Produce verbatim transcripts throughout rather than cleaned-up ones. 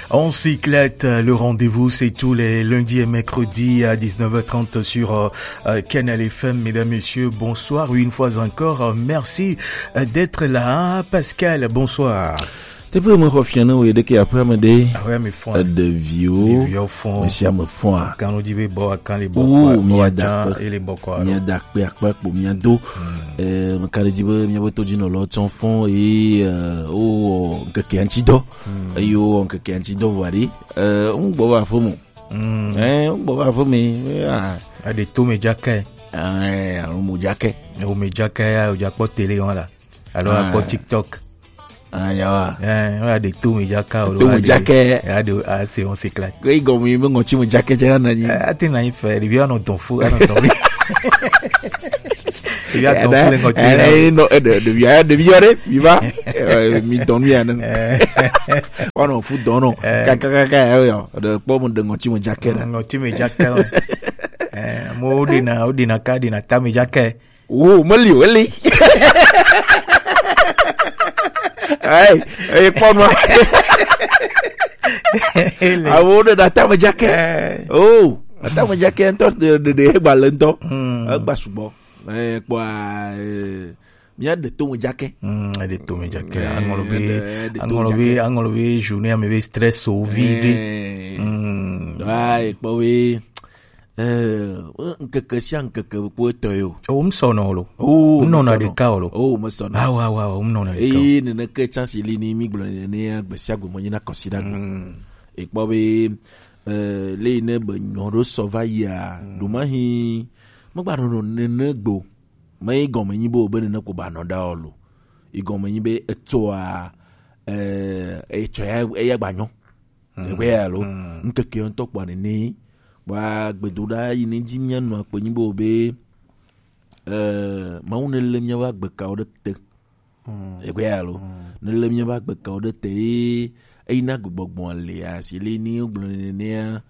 On s'éclate, euh, le rendez-vous, c'est tous les lundis et mercredis à dix-neuf heures trente sur euh, euh, Canal F M. Mesdames, Messieurs, bonsoir. Une fois encore, euh, merci euh, d'être là. Pascal, bonsoir. Teƒe me xɔ fia ne wo ɖeke aƒea me ɖe. Aƒea me fɔa. Ɖeviwo. Ɖeviwo fɔa. Mesia me fɔa. Kan wo di be bɔ kan le bɔ. Oh, mia da kpe. Ele bɔ kɔ. Mia da kpe akpe kpo mia do. Eh, me ka le di be mia be to di nɔ lɔ tsɔ fɔn e eh, o ŋkeke anti dɔ. Eye wo ŋkeke ŋuti dɔ vɔ aɖe. Eh, ŋgbɔ va aƒe me. Mm. Eh, ŋgbɔ va aƒe me. Ah. Aɖe to me dzake. Eh, alo mo dzake. O me dzake ya, o dzakpɔ télé wan la. Alo akpɔ TikTok. Ah, ya wa. Eh, o aɖe to me dzaka o. To me dzake. Ya de a se on se kla. Ke igɔ mi me ŋɔti mo dzake dze na nyi. Eh, ate na nyi fɛ, ɖevi anɔ dɔn fu, anɔ dɔn mi. Ɖevi atɔ kple ŋɔti na. Eh, no, eh, ɖe- ɖevi ya, ɖevi yɔ ɖe, mi va. Eh, mi dɔn mi ane. Ɔnɔ fu dɔn no. Kaka kaka ya yɔ. Ɖe kpɔ mo ɖe ŋɔti mo dzake na. Ŋɔti me dzake. Eh, mo ɖe na, o ɖe na ka ɖe na ta me dzake. Wo meli o eli. Ai, ai kpɔ no. Awo ɖe na ta me dzake. Eh. Oh, ata me dzake ŋutɔ ɖe ɖe egba le ŋutɔ. Mm. Egba sugbɔ. Eh, kpɔa, eh, mía ɖe to me dzake. Mm, eɖe to me dzake. Eh, aŋlɔ be, eɖe- eɖe to aŋlɔ be, dzake. Aŋlɔ be journée ame be stress o vi ɖe. Eh. Mm. Wa ekpɔ be, eh, ŋkeke sia ŋkeke kpo etɔ yo. O, m sɔnɔ lo. O, m nɔna ɖeka o lo. O, m sɔnɔ. Wa, wa, wa, m nɔna ɖeka o. Eye neneke chance li ni mi gblɔ nene ya gbe sia gbe mo nyina kɔsi ɖa gbe. Mm. Ekpɔ be, eh, le yi ne be nyɔ ɖo sɔ va yia, mm, ɖo ma hi, megba nɔ nɔ nene gbe o. Me yi gɔme nyi be o be nene ko ba nɔ ɖa o lo. Yi gɔme nyi be etsɔa, eh, etsɔ ya, eya gba nyɔ. Mm. Egbe ya lo. Mm. Ŋkeke ŋutɔ kpɔa nene. Kpɔa gbedoɖa yi ne dzi mía nɔ akpe nyi be o be, eh, Mawu ne le mía va gbe ka o ɖe te. Mm. Egbe ya lo. Mm. Ne le mía va gbe ka o ɖe te ye, eyi na gbegbɔgbɔ le asi le ni gblɔ nenea,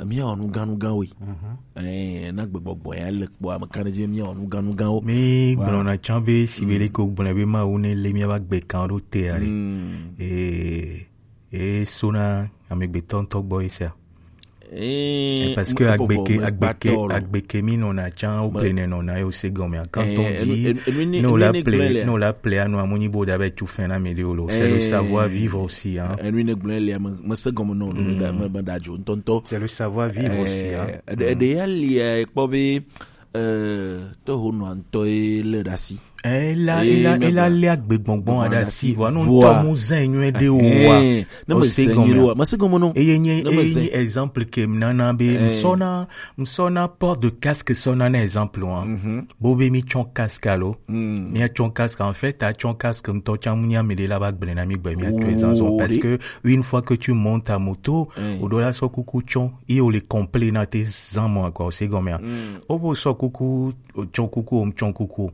mía wɔ nu gã nu gã woe. Mhm. Eh, na gbegbɔgbɔ ya le kpɔ ame kan dzi mía wɔ nu gã nu gã wo. Mi gblɔna tsã be si be le ko gblɔ be Mawu ne le mía va gbe kan ɖo te ari. Mm. Eh, eh, sona amegbetɔ ŋutɔ gbɔ ye sia. Eh, parce que agbeke, agbeke, agbeke mi nɔna tsã, o ple ne nɔna yo se gɔme. Quand on dit, ne o la ple, ne o la ple anu amu nyi bo da be tu fin na mi de o lo. C'est le savoir vivre aussi, hein. Enu ne gblɔ le me, me se gɔme no, me da, me, me da jo ntɔntɔ. C'est le savoir vivre aussi, hein. Eɖe, eɖe ya li, eh, kpɔ be, eh, to ho nɔ ntɔ e le ɖe asi. Ela, ela, ela le agbegbɔgbɔ aɖe asi, vɔa, no ŋutɔ mu zã nyuie ɖe o wa. Eh, ne me se gɔme wa, me se gɔme no. Eye nye, eye nye exemple ke m nana be m sɔna, m sɔna port de casque sɔna na exemple wa. Mhm. Bo be mi tsɔ casque alo. Mm. Mi tsɔ casque, en fait, a tsɔ casque ŋutɔ tsã mu nya mi de la ba gblẽ na mi gbe mi a tu ezan zɔn. Parce que une fois que tu montes à moto, o do la sɔ kuku tsɔ, i o le complet na te zan mo quoi, o se gɔme a. Mm. O bo sɔ kuku, o tsɔ kuku, o m tsɔ kuku.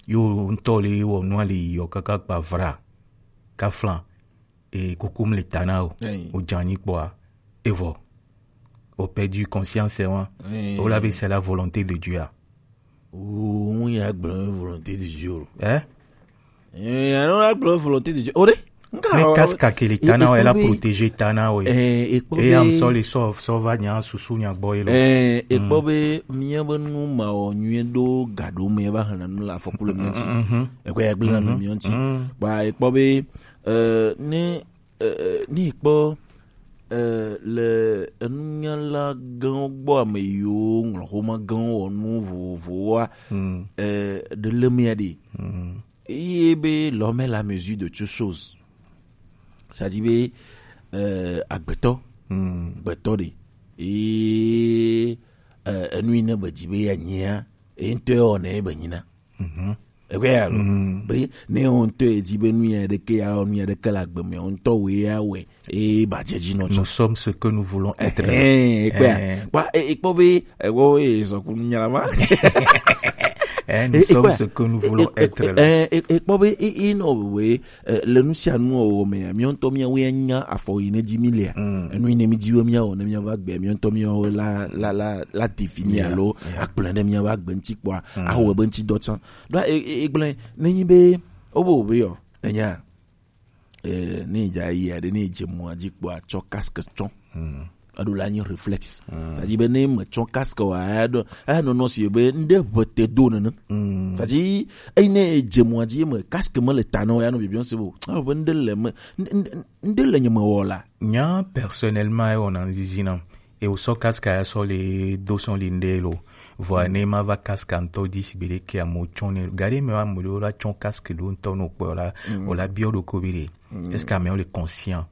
Yo ŋutɔ le wɔ nua le yiyɔ kaka kpa vra. Kaflan. E kuku mle ta na o. Eyi. O dza nyi kpɔa. Evɔ. O perdu conscience wa. Eyi. O la be c'est la volonté de Dieu a. O, ŋu ya gblɔ volonté de Dieu o. Eh? Eh, ya no la gblɔ volonté de Dieu. O de? Nka. Mais casque kele ta na o, la protéger ta na o. Eh, e kpɔ be. E am sɔ le sɔ, sɔ va nya susu nya gbɔ ye lo. Eh, e kpɔ be mía be nu ma o nyuie ɖo ga ɖo me va hana nu la afɔku le mía ŋuti. Mhm. Ekɔ ya gblẽ na mi mía ŋuti. Mhm. Ba e kpɔ be, eh, ne, eh, eh, ne e kpɔ, eh, le enunyala gãwo gbɔ ame yiwo ŋlɔ xoma gãwo wɔ nu vovovowoa, eh, ɖe le mía ɖi. Mhm. Eye be l'homme est la mesure de toute chose. C'est-à-dire be, euh, agbetɔ, gbetɔ ɖe. Eye, euh, enu yi ne be dzi be ya nyia, e ŋutɔ wɔ ne be nyina. Mhm. Ebe ya lo. Mhm. Be ne wo ŋutɔ e dzi be nu ya ɖeke ya wɔ nu ya ɖeke le agbe me, wo ŋutɔ wo ya wɛ. Eye ba dze dzi nɔ tsã. Nous sommes ce que nous voulons être. Eh, ekpɔa. Eh. Kpɔ, eh, ekpɔ be, eh, wo, eh, sɔku nyala ma. Eh, nous sommes ce que nous voulons être là. Eh, eh, ekpɔ be, eh, eh, no, we, eh, le nu sia nu wɔwɔ mea, mía ŋutɔ mía woe nya afɔ yi ne dzi mí lea. Mm. Enu yi ne mí dzi be mía wɔ ne mía va gbe, mía ŋutɔ mía wo la, la, la, la définir alo akplɔe ɖe mía va gbe ŋuti kpɔa, awɔ be ŋuti dɔ tsã. Ɖo, eh, eh, egblẽ, ne nyi be, wo be wo be yɔ, enya. Eh, ne dza yi aɖe, ne dze mɔa dzi kpɔa, tsɔ casque tsɔ. Hmm. Eɖo la nyi réflexe. Hmm. C'est-à-dire be ne me tsɔ casque wa, eɖo, enɔnɔ si be ŋɖe ʋe te do nene. Hmm. C'est-à-dire, eyi ne dze mɔa dzi me casque me le ta na o, ya nɔ bibiɔ se bo. Ah, be ŋɖe le me, ŋɖe, ŋɖe, ŋɖe le nye me wɔ la. Nya personnellement, ewɔna ŋzizi nam. E wosɔ casque ya sɔ le do sɔn le ŋɖe lo. Vɔa ne ma va casque ŋutɔ dzi si be ɖe ke amewo tsɔ ne. Gaɖe me wa amewo la tsɔ casque ɖo ŋutɔ no kpɔ la, o la biɔ ɖo ko bi ɖe. Est-ce que amewo le conscient?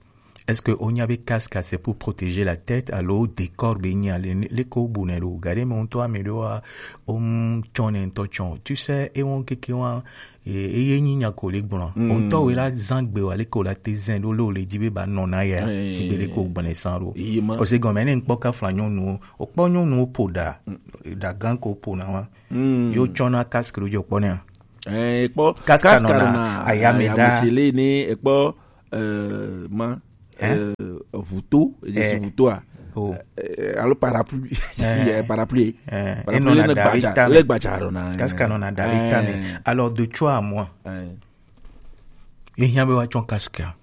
Est-ce que wonya be casque c'est pour protéger la tête alo décor be nya le, le ko bu ne ɖo? Gaɖe me ŋutɔ ame ɖewoa, wo ŋu tsɔ ne ŋutɔ tsɔ. Tu sais, e wɔn keke wa, e, eye nyi nya ko le gblɔ. Mm. O ŋutɔ we la zan gbe wa le ko la te zɛn ɖo le o le dzi be ba nɔ na ya. Eh. Ti be le ko gbɔnɛ san ɖo. Iye ma. O se gɔmɛ ne ŋkpɔ kafla nyɔnuwo. O kpɔ nyɔnuwo po ɖa. Mm. Ɖa gan ko po na wa. Mm. Yo tsɔ na casque ɖo dzi o kpɔ ne. Eh, ekpɔ casque nɔna ayame ɖa. Ayame se le ne ekpɔ, eh, ma, eh, vuto, edze si vutoa. Oh. Eh, alo parapluie. Eh, parapluie. Eh, parapluie enɔna le gbadza, le gbadza ɖona. Casque nɔna ɖa le ta me. Eh. Alors, de toi à moi. Eh. Ye hiã be wa tsɔ casque a.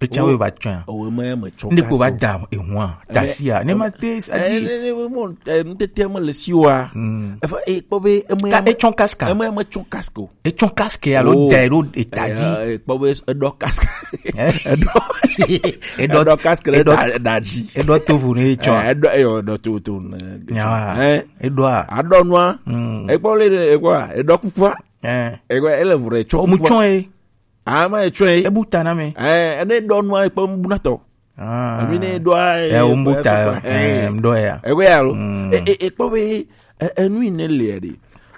Etsã wo ba tsɔa. O me me tsɔ. Nde ko ba da ehua. Tasia. Ne ma te sa di. Ne, ne, mo, eh, ŋutete me le si wa. Mm. Efa, e kpɔ be eme ka etsɔ casque. Eme me tsɔ casque o. Etsɔ casque alo da ɖo eta dzi. E kpɔ be eɖɔ casque. Eɖɔ. Eɖɔ casque ɖe da dzi. Eɖɔ tovu ne etsɔ. Eɖɔ, eyɔ, eɖɔ tovu ne. Nyawa. Eɖɔa. Aɖɔ nua. Mm. Ekpɔ le, ekpɔ, eɖɔ kukua. Ekpɔ, ele vure tsɔ kukua. Omu tsɔ ye. Ama etsɔe. Ebu ta na me. Eh, ene ɖɔ nua ekpe mbuna tɔ. Ah. Emi ne ɖɔa, eh, o mbu ta, eh, mɖɔ ya. Ewe ya lo. Mm. E, e, ekpɔ be, e, enu yi ne le ɖe.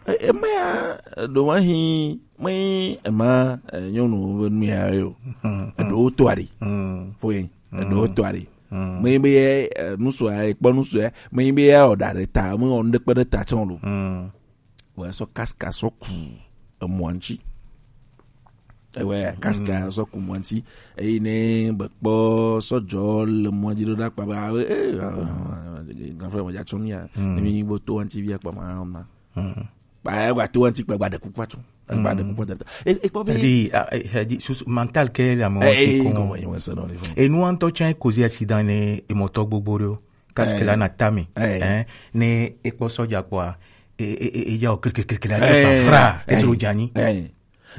E, eme ya, ɖo ma hi, me ema, eh, nyɔnu be nu ya yo. Mm. Eɖo to ari. Mm. Fo yi. Eɖo to ari. Mm. Me be, eh, nusu ya, ekpɔ nusu ya. Me be ya o da ɖe ta, me o ŋɖe kpe ɖe ta tsɔ lo. Mm. Vɔ esɔ casque sɔ ku emɔa ŋuti. Ewɛ casque sɔ ku mɔa ŋuti. Eyi ne be kpɔ sɔdzɔ le mɔa dzi ɖo ɖa kpa be, ah, eh, ah, grand frère, mɔdza tsɔ nu ya. Ne mi bo to ŋuti via kpa ma, ma. Ba, gba to ŋuti kpa gba ɖe kuku atsɔ. Gba ɖe kuku atsɔ. E, e kpɔ be. Edi, a, e, edi, susu, mental ke le amewo si ko. Enu ŋutɔ tsã kozi accident ne emɔtɔ gbogbo ɖewo. Casque la na tame. Eh. Eh, ne ekpɔ sɔdza kpɔa, e, e, e, e ya o kiri, kiri, kiri, kiri, eh, fra, eh, etro djanyi. Eh.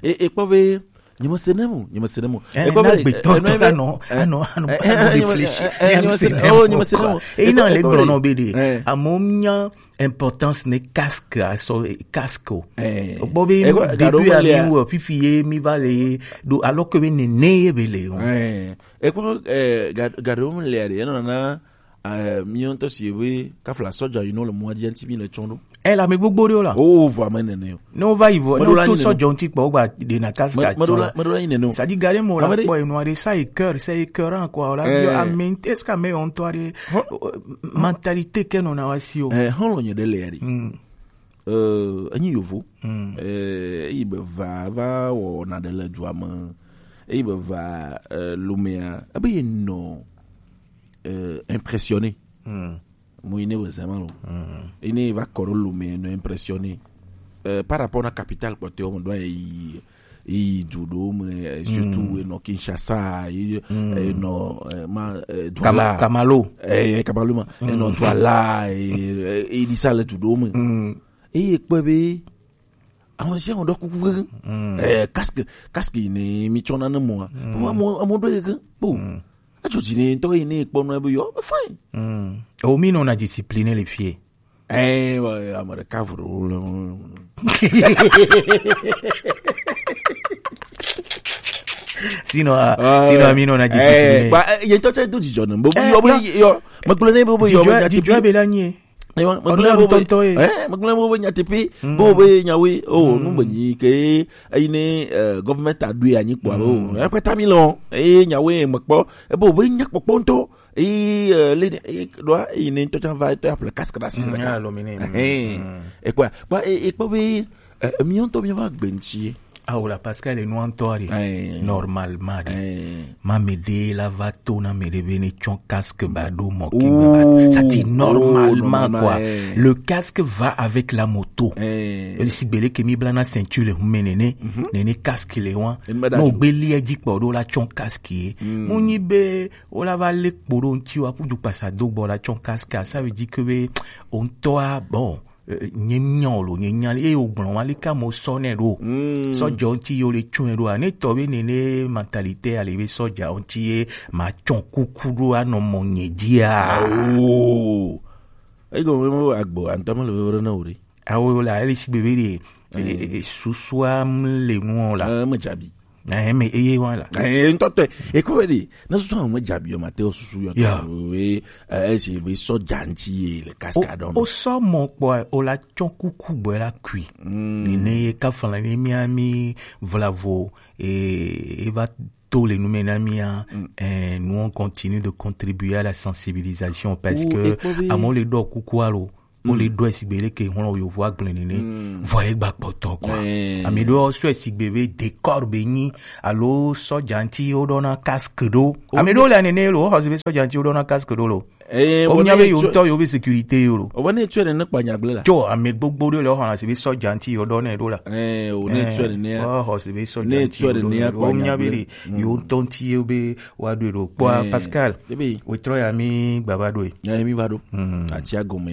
E, ekpɔ be, nyemese nemo, nyemese nemo. Eh, ekpɔ na be, gbetɔ eh, tɔ eh, la nɔ, eh, anɔ, anɔ, eh, anɔ eh, réfléchi. Eh, eh, nyemese nemo, oh, nyemese nemo. E na le gblɔ nɔ be ɖe. Eh. Amewo nya importance ne casque asɔ, eh, casque o. Eh. Kpɔ be, ekpɔ, début ami wo fifi ye mi va le ye, do, alors que be nene ye be le o. Eh. Ekpɔ, eh, ga, ga ɖewo mi le ɖe, enɔ na Eh, mi ŋutɔ si be kafla sɔdza yi nɔ le mɔa dzi ŋuti mi le tsɔ ɖo. Eh, le ame gbogbo ɖewo la. Oh, vɔ ame nene o. Ne wo va yi vɔ, ne wo to sɔdza ŋuti kpɔ, wo gba ɖe na casque tsɔ. Meɖo la, meɖo la yi nene o. Sadi ga ɖe mo la kpɔ enua ɖe, ça écœure, ça écœurant quoi. Ola, est-ce que ame ŋutɔ ɖe, mentalité ke nɔ na wa si o. Eh, hɔn lo nye ɖe le ya ɖe. Hmm. Eh, enyi yovo. Hmm. Eh, eyi be va, va wɔ na ɖe le dua me. Eyi be va, eh, lumea, ebe ye nɔ, eh, impressionné. Hmm. Mo yi ne be zema lo. Hmm. Yi ne va kɔ ɖo lume nɔ impressionné. Eh, par rapport na capitale kpɔtɔewo me ɖo yi, yi du ɖewo me, eh, surtout enɔ Kinshasa, yi, enɔ, eh, ma, eh, Douala. Kamalo. Eh, Kamalo ma. Enɔ Douala, eh, eh, yi di sa le du ɖewo me. Hmm. Eye kpɔe be, ame sia ame ɖɔ kuku veve. Mm. Eh, casque, casque yi ne mi tsɔ na ne mɔa. Mm. Amo, amo ɖo yi ke. Bo. Mm. Etsɔ dzi ne ŋutɔ yi ne kpɔ nɔ ebe yɔ, be fine. Mm. O mi nɔ na discipline le fie. Eh, wa, ame ɖeka vro le. Sinon, ah, sinon, mi nɔ na discipline. Eh, ba, eh, ye ŋutɔ tsɛ do dzidzɔ ne. Bo, eh, yɔ, bo, yɔ, megblɔ ne bo, bo, yɔ, dzidzɔ, dzidzɔ be la nye. Ɔnu ŋutɔŋutɔ ye. Eh, megblẽ be nyateƒe, be wobe nyawoe, oh, nu be nyi ke, eyi ne, eh, government aɖoe anyi kpɔa, oh, ekpata mi lɔ, eye nyawoe mekpɔ, ebe wobe nya kpɔkpɔ ŋutɔ, eye, eh, le, eh, ɖoa, eyi ne ŋutɔ tsã va, etɔ ya ƒle casque ɖe asi ɖeka. Ekpɔa, kpɔ, eh, ekpɔ be, eh, mi ŋutɔ mi va gbe ŋuti ye. Awo la, Pascal, e nua ŋutɔ ɖe. Ɛɛ. Normalement ɖe. Ɛɛ. Ma mɛ ɖe la va to na mɛ ɖe be ne tsɔ casque ba ɖo mɔ ki me ba. Oh, ça dit oh, normalement, normalement, quoi. Ɛɛ. Le casque va avec la moto. Ɛɛ. Eli si gbele ke mi bla na ceinture le hume nene. Mhm. Nene casque le wa. Eni me da. No ju. Gbeli edzi kpɔ ɖo la tsɔ casque ye. Mm. Mu nyi be o la va le kpo ɖo ŋuti wa ku du kpasa do gbɔ la tsɔ casque a, ça veut dire que be o ŋutɔ a, bon, eh, nye nya o lo, nye nya, eye o gblɔ wa, leke amewo sɔ nɛ ɖo. Mm. Sɔdza ŋuti ye o le tsɔe ɖo a, ne tɔ be nene mentalité ale be sɔdza ŋuti ye ma tsɔ kuku ɖo anɔ mɔ nye dzia. Oh. Ego mo agbo antɔ me le vevere na o ɖe. Awo la, ele si gbebe ɖe, eh, eh, eh, susua m le nuɔ la. Eh, me dzabi. Eh, me eye wa la. Eh, ŋutɔ tɔe. Eko be ɖe, ne susua me dzabi o, ma te o susu yɔ. Ya. We, eh, esi be sɔdza ŋuti ye le cascade. O sɔ mɔ kpɔ, o la tsɔ kuku gbɔ la kui. Mm. Ni ne ye ka fana ni mi ami vlavo, eh, e va to le nu me na mi a, mm, eh, nous on continue de contribuer à la sensibilisation parce que ekpɔ be amewo le ɖɔ kuku alo. Wo le ɖɔe sigbe ɖe ke hlɔ̃ yovo agblẽ nene. Mm. Vɔ ye gba kpɔtɔ kɔ. Eh. Ame ɖewo sɔe sigbe be décor be nyi alo sɔdza ŋuti wo ɖɔna casque ɖo. Ame ɖewo le nene lo, wo xɔ si be sɔdza ŋuti wo ɖɔna casque ɖo lo. Eh, wo nya be yo ŋutɔ yo be sécurité yo lo. O ne tsɔe nene kpa nya gblẽ la. Tso ame gbogbo ɖewo le wo xɔ si be sɔdza ŋuti yo ɖɔ ne ɖo la. Eh, o ne tsɔe nene. Wo xɔ si be sɔdza ŋuti yo ɖɔ ne ɖo la. O nya be yo ŋutɔ ŋuti yo be wa ɖo ɖo. Kpɔ Pascal. Ebe. Wo trɔ ya mi gbaba ɖo. Ya mi va ɖo. Mm. Ati agome.